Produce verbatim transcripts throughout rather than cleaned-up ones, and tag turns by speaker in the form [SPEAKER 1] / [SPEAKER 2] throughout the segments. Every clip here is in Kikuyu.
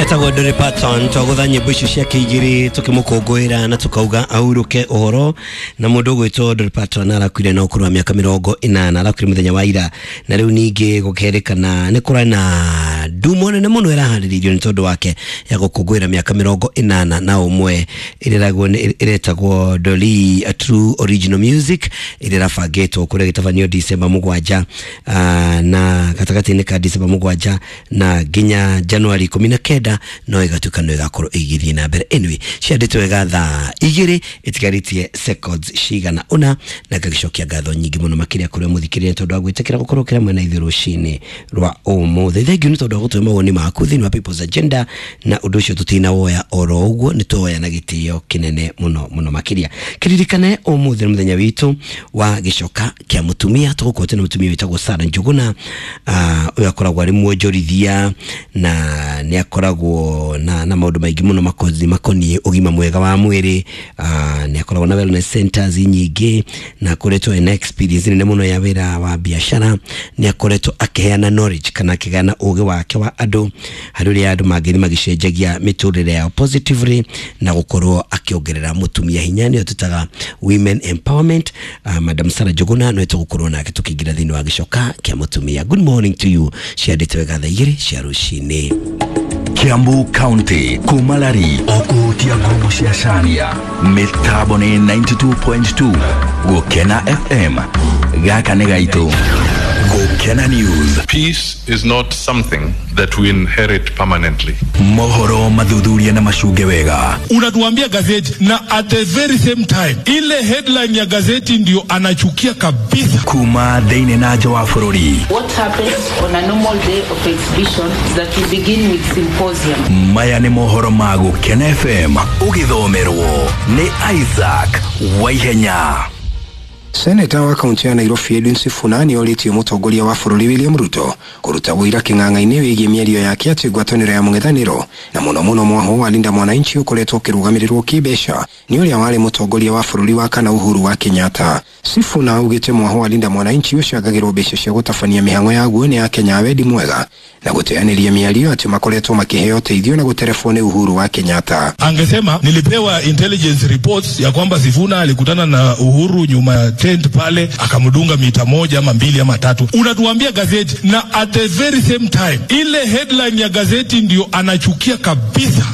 [SPEAKER 1] Etagwo Dolly Parton twagutha nyimbo icio ciake igĩrĩ tũkĩmũkũngũĩra na tũkauga ahurũke ũhoro. Na mũndũ ũgwĩtwo Dolly Parton arakuire na ũkũrũ wa mĩaka mĩrongo ĩnana, arakuire mũthenya wa ira. Na rĩu ningĩ gũkerĩkana nĩ kũrĩ na ndumo nene mũno ĩraharĩrĩirio nĩ tondũ wake ya gũkũngũĩra mĩaka mĩrongo ĩnana na ũmwe, ĩreragwo ĩretagwo Dolly A True Original Music, ĩrĩa ĩrabangĩtwo kũrĩa gĩtabanio December mũgwanja, na gatagatĩ-inĩ ka December mũgwanja na nginya January ikũmi na kenda no ĩgatuĩka no ĩgakorwo ĩgĩthiĩ na mbere. Anyway, ciandĩtwo wega thaa igĩrĩ ĩtigarĩtie seconds cigana ũna, na ngagĩcokia ngatho nyingĩ mũno makĩria kũrĩa mũthikĩrĩria tondũ wa gwĩtĩkĩra gũkorwo kĩra mwena ithuĩ rũcinĩ rwa ũmũthĩ. Thengiũ nĩ tondũ wa gũtũhe mawoni maku thĩinĩ wa People's Agenda, na ũndũ ũcio tũtinawoya oro ũguo, nĩ twoya na gĩtĩo kĩnene mũno mũno makĩria. Kĩririkane ũmũthĩ nĩ mũthenya witũ wa gĩcoka kĩa mũtumia, tũgũkorwo twĩna mũtumia wĩtagwo Sarah Njuguna, ũyũ akoragwo arĩ mwonjorithia na nĩ akoragwo na, na maũndũ maingĩ mũno makozi makoniĩ ũgima mwega wa mwĩrĩ. Nĩ akoragwo na wellness centers nyingĩ na akoretwo ena experience nene mũno ya wĩra wa biacara. Nĩ akoretwo akĩheana knowledge kana akĩgana ũgĩ wake wa andũ harĩ ũrĩa andũ mangĩthiĩ magĩcenjagia mĩtũrĩre yao positively na gũkorwo akĩongerera mũtumia hinya, nĩyo tũtaga women empowerment. uh, Madam Sarah Njuguna no tũgũkorwo nake tũkĩingĩra thĩinĩ wa gĩcoka kĩa mũtumia. Good morning to you. Ciandĩtwo wega thaa igĩrĩ cia rũcinĩ.
[SPEAKER 2] Kiambu County kumalari okuhutia ngumo cia Cania mitambo ni ninety-two point two Gukena F M gaka nĩ gaitũ. Gukena News.
[SPEAKER 3] Peace is not something that we inherit permanently.
[SPEAKER 2] Mohoro mathuthuria na macunge wega.
[SPEAKER 4] Unatuambia gazeti na at the very same time ile headline ya gazeti ndio anachukia kabisa.
[SPEAKER 2] Kuma thĩinĩ na nja wa bũrũri.
[SPEAKER 5] What happens on a normal day of exhibition is that we begin with symposium.
[SPEAKER 2] Maya nĩ mohoro ma Gukena F M ũgĩthomerwo nĩ Isaac Waihenya.
[SPEAKER 6] Seneta wa kaunti ya Nairobi Edwin Sifuna nĩ orĩtie mũtongoria wa bũrũri William Ruto kũruta ũira kĩng'ang'a-inĩ wĩgiĩ mĩario yake atĩ ngwatanĩro ya mũng'ethanĩro na mũno mũno mwaho wa Linda Mwananchi ũkoretwo ũkĩrũgamĩrĩrwo kĩmbeca nĩ ũrĩa warĩ mũtongoria wa bũrũri wa kana Uhuru wa Kenyatta. Sifuna augĩte mwaho wa Linda Mwananchi ũcangagĩrwo mbeca cia gũtabania mĩhang'o yaguo nĩ Akenya a wendi mwega na gũteanĩria mĩario atĩ makoretwo makĩheo ũteithio na gũterebwo nĩ Uhuru wa Kenyatta.
[SPEAKER 4] Angesema nilipewa intelligence reports ya kwamba Sifuna alikutana na Uhuru nyuma ya tent pale akamdunga mita moja ama mbili ama tatu. Unatuambia gazeti na at the very same time ile headline ya gazeti ndio anachukia kabisa.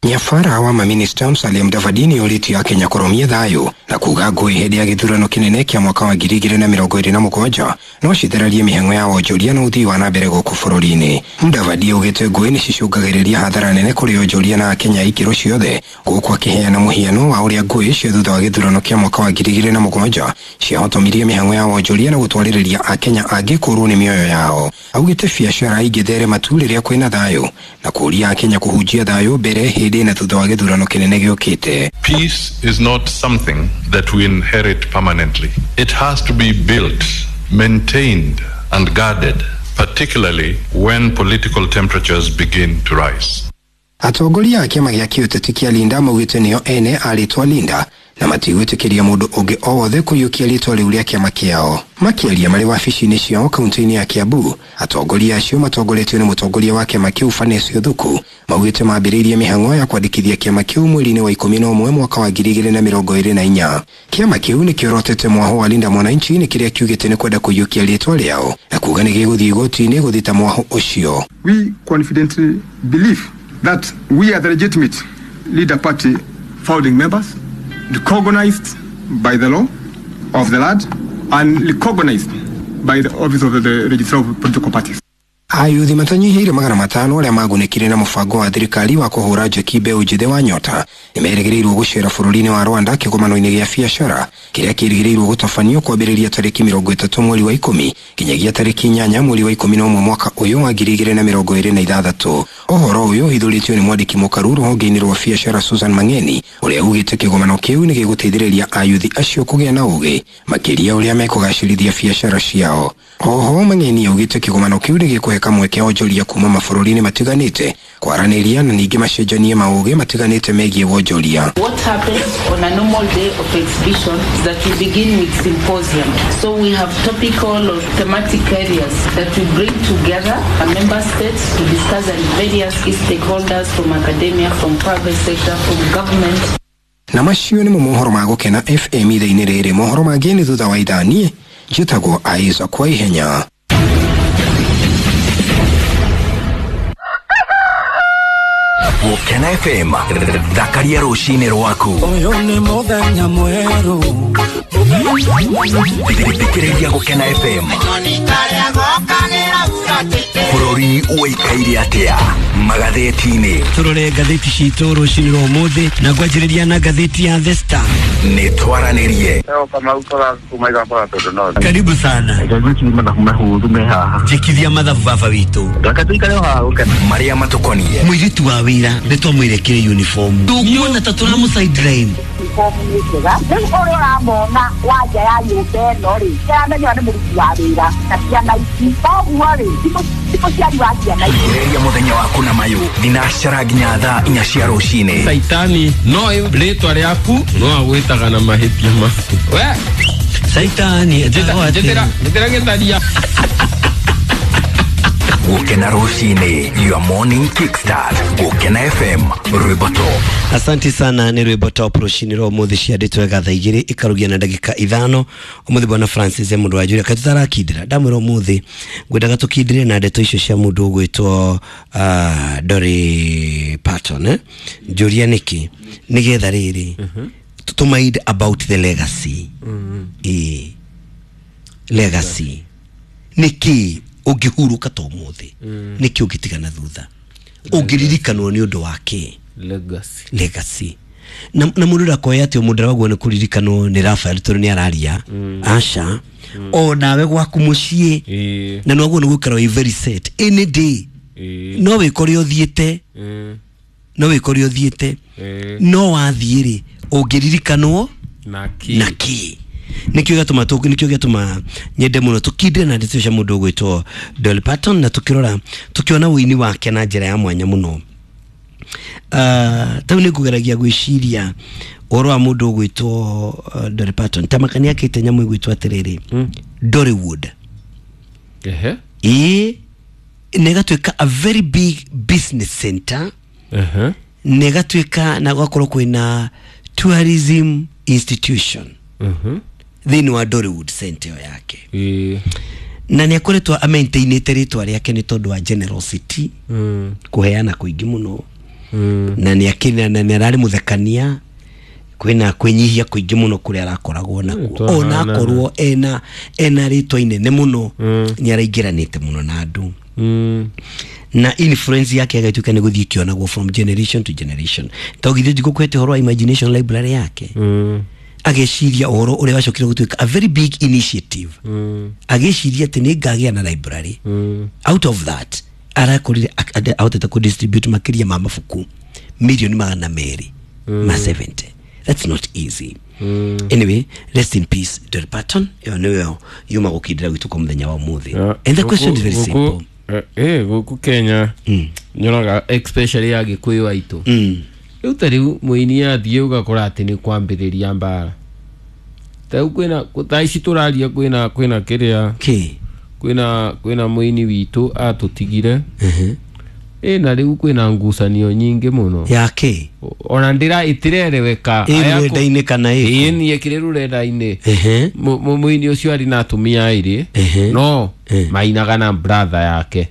[SPEAKER 6] Nyafara wa maminista Musalia Mudavadi nĩ orĩtie Akenya kũrũmia thayũ na kuga ngũĩ hĩndĩ ya gĩthurano kĩnene kĩa mwaka wa ngiri igĩrĩ na mĩrongo ĩrĩ na mũgwanja no citherarie mĩhang'o ya wonjoria na ũthii wa na mbere gũkũ bũrũri-inĩ. Mudavadi augĩte ngũĩ nĩ cicũngagĩrĩria hathara nene kũrĩ onjoria na Akenya ikĩro ciothe, gũkũ akĩheana mũhiano wa ũrĩa ngũĩ cia thutha wa gĩthurano kĩa mwaka wa ngiri igĩrĩ na mũgwanja ciahotomirie mĩhang'o ya wonjoria na gũtwarĩrĩria Akenya angĩ kũũrwo nĩ mĩoyo yao. Augĩte biacara ingĩtherema tu rĩrĩa kwĩna thayũ na kũũria Akenya kũhunjia thayũ mbere, hĩndĩ na thutha wa gĩthurano kĩnene gĩũkĩte.
[SPEAKER 3] Peace is not something that we inherit permanently. It has to be built, maintained and guarded, particularly when political temperatures begin to rise.
[SPEAKER 6] Atongoria a kĩama gĩa kĩũteti kĩa Linda maugĩte nĩo ene a rĩtwa Linda na matigwĩtĩkĩria mũndũ ũngĩ o wothe kũiyũkia rĩtwa rĩu rĩa kĩama kĩao. Makĩaria marĩ wabici-inĩ ciao kaunti-inĩ ya Kiambu, atongoria acio matongoretio nĩ mũtongoria wa kĩama kĩu Fanesi Othuku maugĩte mambĩrĩirie mĩhang'o ya kwandĩkithia kĩama kĩu mweri-inĩ wa ikũmi na ũmwe mwaka wa ngiri igĩrĩ na mĩrongo ĩrĩ na inya. Kĩama kĩu nĩkĩorotete mwaho wa Linda Mwananchi nĩ kĩrĩa kiugĩte nĩ kwenda kũiyũkia rĩtwa rĩao na kuga nĩ gĩgũthiĩ igoti-inĩ gũthita mwaho ũcio.
[SPEAKER 7] We confidently believe that we are the legitimate leader party founding members, recognized by the law of the land and recognized by the office of the Registrar of Political Parties.
[SPEAKER 6] Ayuthi matanyihĩire magana matano arĩa magunĩkire na mũbango wa thirikari wa kũhũra njeki mbeũ njĩthĩ wa nyota nĩmerĩgĩrĩirwo gũcera bũrũri-inĩ wa Rwanda kĩgomano-inĩ gĩa biacara kĩrĩa kĩrĩgĩrĩirwo gũtabanio kwambĩrĩria tarĩki mĩrongo ĩtatũ mweri wa ikũmi nginyagia tarĩki inyanya mweri wa ikũmi na ũmwe mwaka ũyũ wa ngiri igĩrĩ na mĩrongo ĩrĩ na ithathatũ. Ũhoro ũyũ ũhithũrĩtio nĩ mwandĩki mũkaru rũhonge-inĩ rwa biacara Susan Mang'eni ũrĩa ugĩte kĩgomano kĩu nĩ gĩgũteithĩrĩria ayuthi acio kũgĩa na ũgĩ makĩria ũrĩa mekũgacĩrithia biacara ciao. Oho Mang'eni augĩte kĩgomano kĩu nĩ gĩkũhe kamweke onjoria kuma mabũrũri-inĩ matiganĩte kwaranĩria na ningĩ macenjanie maũgĩ matiganĩte megiĩ wonjoria.
[SPEAKER 5] What happens on a normal day of exhibition is that we begin with symposium. So we have topical or thematic areas that we bring together our member states to discuss and various stakeholders from academia, from private sector, from government.
[SPEAKER 6] Na macio nĩmo mohoro ma Gũkena F M ithaa-inĩ rĩrĩ. Mohoro mangĩ nĩ thutha wa ithaa. Niĩ njĩtagwo Isaac kwa ihenya.
[SPEAKER 2] Gũkena F M, thakaria rũcinĩ rwaku.
[SPEAKER 8] Ũyũ nĩ mũthenya mwerũ.
[SPEAKER 2] Thikĩrĩria Gũkena F M. Bũrũri ũikaire atĩa magathĩti-inĩ?
[SPEAKER 1] Tũrore ngathĩti citũ rũcinĩ rwa ũmũthĩ na ngwanjĩrĩria na ngathĩti ya The Star.
[SPEAKER 2] Nĩ twaranĩrie.
[SPEAKER 1] Karibu sana. Njĩkithia mathabu baba witũ.
[SPEAKER 2] Marĩa matũkoniĩ.
[SPEAKER 1] Mũirĩtu wa wĩra nĩ twamwĩrekire uniform. Tũkuona ta tũramũ sideline.
[SPEAKER 9] Uniform nĩ njega. Rĩu ũrĩa ũramona wa nja ya nyũmba ĩno rĩ, nĩaramenya nĩ mũruti wa wĩra na ciana ici. Koguo rĩ, ti mũciari wa ciana ici.
[SPEAKER 2] Ĩrĩria mũthenya waku na mayũ thinacara nginya thaa inya cia rũcinĩ.
[SPEAKER 10] Saitani no rĩtwa rĩaku no agwĩtaga na mahĩtia maku. We
[SPEAKER 1] Saitani
[SPEAKER 10] njĩtĩra njĩtĩra gĩtharia.
[SPEAKER 2] Gũkena rũcinĩ, your morning kickstart. Gũkena F M, rwĩmbo top.
[SPEAKER 1] Asante sana nĩ rwĩmbo top rũcinĩ rwa ũmũthĩ ciandĩtwo wega thaa igĩrĩ ikarugia na ndagĩka ithano. Ũmũthĩ bwana Francis mũndũ wa Julia katutarakindĩra ndamwĩra ũmũthĩ ngwendaga tũkindĩre na ndeto icio cia mũndũ ũgwĩtwo uh, Dolly Parton eh? Njũria nĩkĩ nĩgetha rĩrĩ tũmaid about the legacy. Ĩĩ legacy nĩkĩ ũngĩhurũka ta ũmũthĩ, nĩkĩ ũngĩtigana thutha, ũngĩririkanwo nĩ ũndũ wa kĩ?
[SPEAKER 10] Legacy.
[SPEAKER 1] Legacy. Na na mũndũ ndakoya atĩ mũndũ waguo nĩ kũririkanwo nĩ Rafael tondũ nĩ araria. Aca. O nawe gwaku mũciĩ na nĩwaguo nĩ gũikara wĩ very set any day. No wĩkore ũthiĩte, no wĩkore ũthiĩte, no wathiĩ rĩ ũngĩririkanwo
[SPEAKER 10] na kĩ?
[SPEAKER 1] Na kĩ? Nikio gĩatũma tũ nikio gĩatũma nyende mũno tũkindĩre na ndeto cia mũndũ ũgwĩtwo Dolly Parton na tũkĩrora tũkĩona ũini wake na njĩra ya mwanya mũno. Uh, tau nĩ ngũgeragia gwĩciria ũhoro wa mũndũ ũgwĩtwo uh, Dolly Parton ta makani akĩte nyamũ ĩgwĩtwo atĩrĩrĩ mm. Dollywood.
[SPEAKER 10] Ehe.
[SPEAKER 1] Ĩĩ na ĩgatuĩka a very big business center.
[SPEAKER 10] Ehe.
[SPEAKER 1] Na ĩgatuĩka na gwakorwo kwĩna tourism institution.
[SPEAKER 10] Mhm.
[SPEAKER 1] Thĩinĩ wa Dollywood center ĩyo yake.
[SPEAKER 10] Ĩĩ.
[SPEAKER 1] Na nĩ akoretwo amaintainĩte rĩtwa rĩake nĩ tondũ wa generosity.
[SPEAKER 10] Mm.
[SPEAKER 1] Kũheana kũingĩ mũno.
[SPEAKER 10] Mm.
[SPEAKER 1] Na nĩ akĩna na nĩ ararĩ mũthekania kwĩna kwĩnyihia kũingĩ mũno kũrĩa arakoragwo nakuo. Ona akorwo ena ena rĩtwa inene mũno nĩ araingĩranĩte mũno na andũ.
[SPEAKER 10] Mm.
[SPEAKER 1] Na influence yake agatuĩka nĩ gũthiĩ ĩkĩonagwo from generation to generation. Togithĩ ndigũkwĩte ũhoro wa imagination library yake.
[SPEAKER 10] Mm.
[SPEAKER 1] Ageciria ũhoro ũrĩa wacokire gũtuĩka a very big initiative.
[SPEAKER 10] Mm.
[SPEAKER 1] Ageciria atĩ nĩ ngagĩa na library.
[SPEAKER 10] Mm.
[SPEAKER 1] Out of that arakorire ahotete ku distribute makĩria ma mabuku milioni magana merĩ
[SPEAKER 10] mm.
[SPEAKER 1] ma seventy. That's not easy.
[SPEAKER 10] Mm.
[SPEAKER 1] Anyway, rest in peace Dolly Parton. Ĩyo nĩyo yuma gũkindĩra gwitũ kwa mũthenya wa ũmũthĩ.
[SPEAKER 10] Yeah.
[SPEAKER 1] And the question is very simple.
[SPEAKER 10] Eh, gũkũ Kenya
[SPEAKER 1] mm.
[SPEAKER 10] nyonaga especially ya Gĩkũyũ aitũ.
[SPEAKER 1] Mm.
[SPEAKER 10] Rĩu ta rĩu mũini athiĩ ũgakora atĩ nĩ kwambĩrĩria mbara. Ta rĩu kwĩna thaa ici tũraria kwĩna kwĩna kĩrĩa
[SPEAKER 1] kĩ
[SPEAKER 10] kwĩna kwĩna mũini witũ atũtigire.
[SPEAKER 1] Mhm.
[SPEAKER 10] Ĩ na rĩu kwĩna ngucanio nyingĩ mũno.
[SPEAKER 1] Ya kĩ?
[SPEAKER 10] Ona ndĩra ĩtirereweka.
[SPEAKER 1] Ĩ rũrenda-inĩ kana ĩkũ?
[SPEAKER 10] Ĩ niĩ ĩkĩrĩ rũrenda-inĩ.
[SPEAKER 1] Ehe.
[SPEAKER 10] Mũini ũcio arĩ na atumia erĩ. No mainaga na brother yake.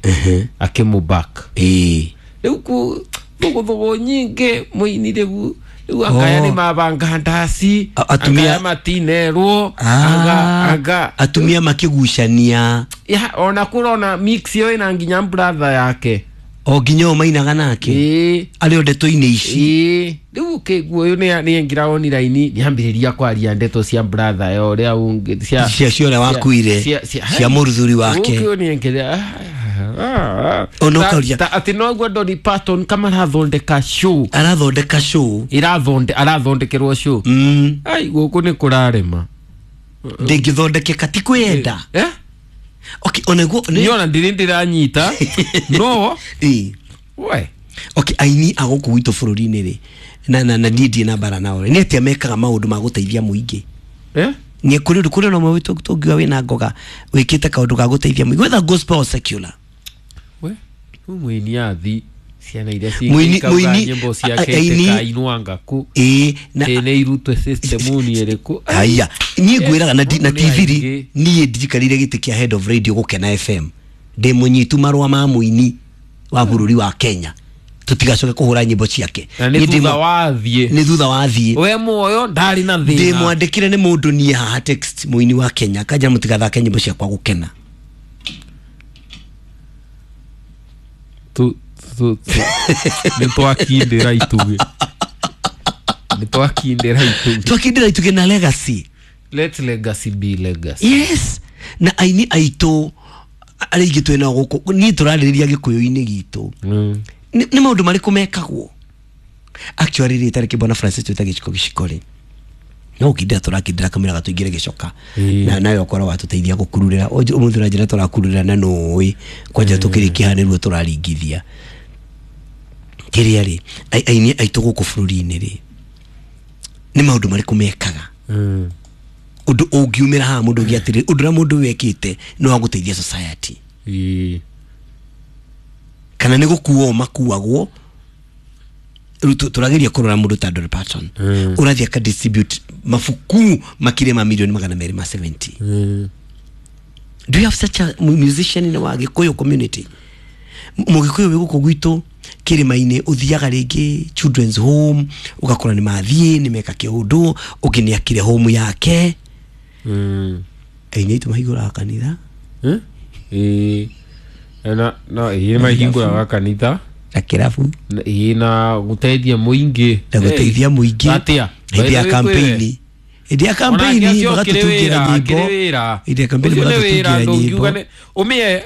[SPEAKER 10] Akĩmũback.
[SPEAKER 1] Ĩ.
[SPEAKER 10] Rĩu ku thũgũthũgũ nyingĩ mũini rĩu rĩu angaya nĩ mabanga ndaci,
[SPEAKER 1] atumia
[SPEAKER 10] matinerwo, anga anga
[SPEAKER 1] atumia makĩgucania.
[SPEAKER 10] Ya ona kũrona mix ĩyo ĩna nginya brother yake.
[SPEAKER 1] O nginya o mainaga nake.
[SPEAKER 10] Ĩĩ.
[SPEAKER 1] Arĩ o ndeto-inĩ ici.
[SPEAKER 10] Ĩĩ. Rĩu ũkĩigua ũyũ nĩ nĩaingĩra online nĩambĩrĩria kwaria ndeto cia brother ya ũrĩa ũngĩ cia
[SPEAKER 1] cia cia ũrĩa wakuire cia mũrũthuri wake.
[SPEAKER 10] Ũkĩo nĩaingĩra
[SPEAKER 1] Ono kauria
[SPEAKER 10] atĩ noguo Dolly Parton kama arathondeka show.
[SPEAKER 1] Arathondeka show.
[SPEAKER 10] Irathonde arathondekerwo show.
[SPEAKER 1] Mm.
[SPEAKER 10] Ai gũkũ nĩ kũrarema.
[SPEAKER 1] Ndĩngĩthondekeka ti kwĩyenda.
[SPEAKER 10] Eh?
[SPEAKER 1] Okay, onego
[SPEAKER 10] niona ndiri ndiranyita no
[SPEAKER 1] eh
[SPEAKER 10] we
[SPEAKER 1] okay aini a gũkũ gwitũ bũrũri-inĩ rĩ na na na niĩ ndirĩ na mbara nao rĩ nĩ atĩa mekaga maũndũ ma gũteithia mũingĩ
[SPEAKER 10] eh
[SPEAKER 1] nĩ kũrĩ ũndũ kũrĩ na ũmwe witũ tũngiuga wĩna ngoga wĩkĩte kaũndũ ga gũteithia mũingĩ whether gospel or secular
[SPEAKER 10] we rĩu mũini athi ciana iria
[SPEAKER 1] Mũini-
[SPEAKER 10] cingĩkauga
[SPEAKER 1] mũini-
[SPEAKER 10] nyĩmbo ciake
[SPEAKER 1] a- aini-
[SPEAKER 10] itikainwanga ku
[SPEAKER 1] ĩĩ na
[SPEAKER 10] ĩ nĩ irutwe system-inĩ ĩrĩkũ
[SPEAKER 1] haya niĩ ngwĩraga na, na
[SPEAKER 10] Nĩ
[SPEAKER 1] T V rĩ
[SPEAKER 10] aingĩ.
[SPEAKER 1] niĩ ndijikarire gĩtĩ kĩa head of radio Gũkena F M ndĩ mũnyitu marũa ma mũini wa bũrũri wa Kenya tũtigacoke kũhũra nyĩmbo ciake
[SPEAKER 10] na nĩ
[SPEAKER 1] Niĩ ndĩ
[SPEAKER 10] thutha
[SPEAKER 1] mũ-
[SPEAKER 10] wathiĩ
[SPEAKER 1] nĩ thutha wa thiĩ
[SPEAKER 10] we muoyo ndarĩ na
[SPEAKER 1] ndĩ
[SPEAKER 10] thĩna
[SPEAKER 1] mwandĩkĩre nĩ mũndũ niĩ haha text mũini wa Kenya kanja mũtigathake nyĩmbo ciakwa Gũkena
[SPEAKER 10] tu tu tu nĩ twakindĩra itugĩ nĩ twakindĩra itugĩ
[SPEAKER 1] twakindĩra itugĩ na legacy
[SPEAKER 10] let legacy be legacy
[SPEAKER 1] yes na aini aitũ arĩa aingĩ twĩ nao gũkũ niĩ tũrarĩrĩria gĩkũyũ-inĩ gitũ
[SPEAKER 10] Mm.
[SPEAKER 1] nĩ nĩ maũndũ marĩkũ mekagwo actually rĩ tarĩki bwana Francis twĩta gĩciko gĩciko rĩ no gũkindĩra tũrakindĩra kamĩra gatũingĩre gĩcoka
[SPEAKER 10] Ĩĩ.
[SPEAKER 1] na nawe ũkorwo watũteithia gũkururĩra ũmũthĩ ũranjĩra tũrakururĩra na nũĩ kwanja tũkĩrĩkia haha nĩruo tũraringithia kĩrĩa rĩ ai- aini aitũ gũkũ bũrũri-inĩ rĩ nĩ maũndũ marĩkũ mekaga
[SPEAKER 10] Mm.
[SPEAKER 1] ũndũ ũngiumĩra haha mũndũ ũngĩ atĩrĩ ũndũ ũrĩa mũndũ ũyũ ekĩte nĩ wa gũteithia society
[SPEAKER 10] Ĩĩ.
[SPEAKER 1] kana nĩ gũkuo makuagwo rĩu tũ- tũrageria kũrora mũndũ ta Dolly Parton
[SPEAKER 10] Mm.
[SPEAKER 1] ũrathiĩ aka distribute mabuku makĩria ma milioni magana merĩ ma seventy
[SPEAKER 10] Mm.
[SPEAKER 1] do you have such a mu- musician in wa Gĩkũyũ community M- mũgĩkũyũ wĩ gũkũ gwitũ kĩrĩma-inĩ ũthiaga rĩngĩ children's home ũgakora nĩ mathiĩ nĩ meka kĩũndũ ũngĩ nĩ akire home yake
[SPEAKER 10] Mm.
[SPEAKER 1] aini aitũ mahingũraga kanitha
[SPEAKER 10] Eh? Ĩĩ. Na na ĩĩ mahingũraga kanitha
[SPEAKER 1] na kĩrabu
[SPEAKER 10] Na- ĩĩ na gũteithia mũingĩ
[SPEAKER 1] na gũteithia mũingĩ
[SPEAKER 10] atĩa
[SPEAKER 1] hĩndĩ ya kampeini hĩndĩ ya kampeini magatũtungira nyĩmbo hĩndĩ ya kampeini magatũtungira nyĩmbo
[SPEAKER 10] ũmĩe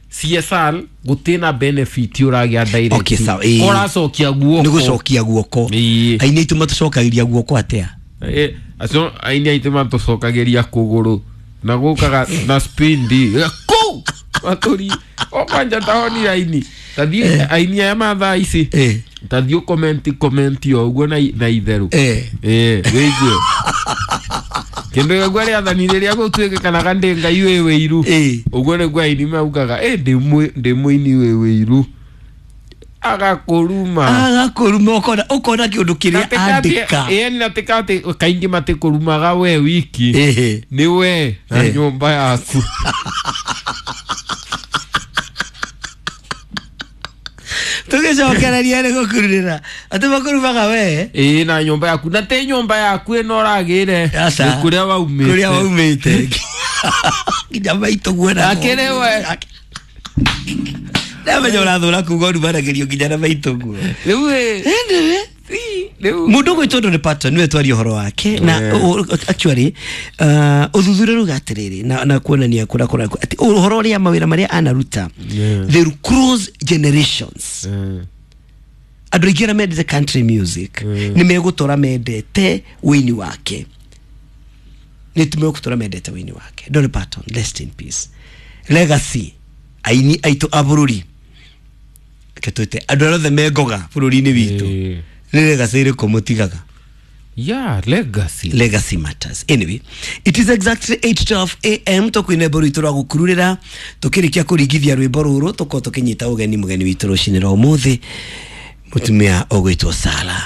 [SPEAKER 10] C S R gũtĩ na benefit ũragĩa direct
[SPEAKER 1] Okay, sawa, ĩĩ.
[SPEAKER 10] ũracokia guoko
[SPEAKER 1] nĩ gũcokia guoko
[SPEAKER 10] Ĩĩ.
[SPEAKER 1] aini aitũ matũcokagĩria guoko atĩa
[SPEAKER 10] Eh, acio aini aitũ matũcokagĩria kũgũrũ na gũkaga na spindi kũ matũri o kwanja tahonire aini tathiĩ aini aya ma thaa ici
[SPEAKER 1] Eh.
[SPEAKER 10] tathiĩ ũkomenti komenti o ũguo na na itherũ
[SPEAKER 1] Eh.
[SPEAKER 10] ĩĩ wĩigue kĩndũ gĩaguo rĩathani rĩrĩa gũtuĩkanaga ndĩ ngai wĩ wĩiru
[SPEAKER 1] Ĩĩ.
[SPEAKER 10] ũguo nĩguo aini maugaga ĩ ndĩ mũ- ndĩ mũini wĩ wĩiru agakũruma
[SPEAKER 1] agakũruma ũkona ũkona kĩũndũ kĩrĩa andĩka
[SPEAKER 10] ĩni na tikati kaingĩ matikũrumaga we wiki
[SPEAKER 1] Ĩhĩ.
[SPEAKER 10] nĩ we na
[SPEAKER 1] Eh.
[SPEAKER 10] nyũmba yaku
[SPEAKER 1] tũgĩcokereria nĩ gũkururĩra atĩ makũrumaga we
[SPEAKER 10] ĩĩ na nyũmba yaku na ti nyũmba yaku ĩno ũragĩre
[SPEAKER 1] Aca.
[SPEAKER 10] nĩ kũrĩa waumĩte
[SPEAKER 1] kũrĩa waumĩte nginya maitũ guona
[SPEAKER 10] Akĩrĩ we.
[SPEAKER 1] ndamenya ũrathũra kuga ũrumanagĩrio nginya na maitũ guo
[SPEAKER 10] rĩu ĩ rĩu
[SPEAKER 1] mundu ũgwĩtwo Dolly Parton niwe twaria ũhoro wake na
[SPEAKER 10] Yeah.
[SPEAKER 1] o- o- actually uh, ũthuthuria rauga atĩrĩrĩ na, na kuonania kũrĩa kũrĩa atĩ ũhoro ũrĩa mawĩra marĩa anaruta
[SPEAKER 10] Yeah.
[SPEAKER 1] they cross generations
[SPEAKER 10] Mm.
[SPEAKER 1] andũ aingĩ arĩa mendete country music
[SPEAKER 10] Mm.
[SPEAKER 1] nĩ megũtũra mendete wĩini wake nĩ megũtũra mendete wĩini wake Dolly Parton rest in peace legacy aini aitũ a bũrũri reke twĩte andũ arĩa othe mengoga bũrũri-inĩ witũ
[SPEAKER 10] Ĩĩ.
[SPEAKER 1] nĩ legacy ĩrĩkũ mũtigaga
[SPEAKER 10] yeah legacy
[SPEAKER 1] legacy matters anyway it is exactly eight twelve a m tukwina rwĩmbo rwitũ rwa gũkururĩra tũkĩrĩkia kũringithia rwĩmbo rũrũ tũkorwo tũkĩnyita ũgeni mũgeni witũ rũcinĩ rwa ũmũthĩ mũtumia ũgwĩtwo Sara.